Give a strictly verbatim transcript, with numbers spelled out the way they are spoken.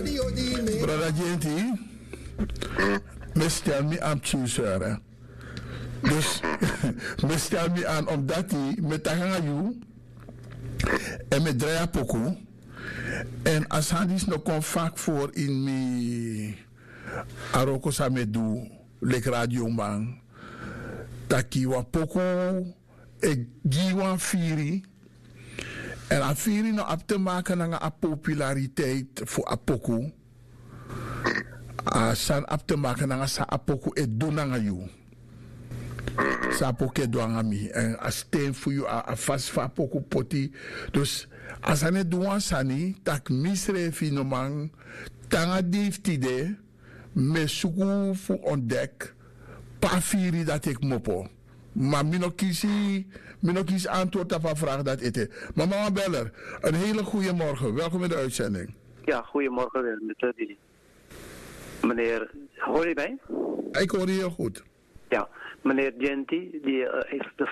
Brada Genti, mi stel mi an pikin sere. Dus mi stel mi an omdati mi e taki nanga yu, èn mi e drai a poku. Èn a sani disi no kon fak fori ini mi, a wroko san mi e du leki radioman, taki wan poku e gi wan firi. Èn a firi no abi te maki nanga a populariteit fu a poku. A sani abi te maki nanga san a poku e du nanga yu. San a poku e du nanga mi, èn a sten fu yu, a fasi fa a poku poti. Dus a sani e du wan sani tak' mi srefi no man tan nanga dei fu tide. Mi e suku fu ontdek pe a firi dati e kmopo. Ma mi no kisi, mi no kisi antword tapu a fragi dati ete. Ma mama beller, en hele goede morgen, welkom in de uitzending. Ya, goede morgen weer met dili. Meneer, hori mi? Ik hoor je heel goed. Ya, meneer Genti di is de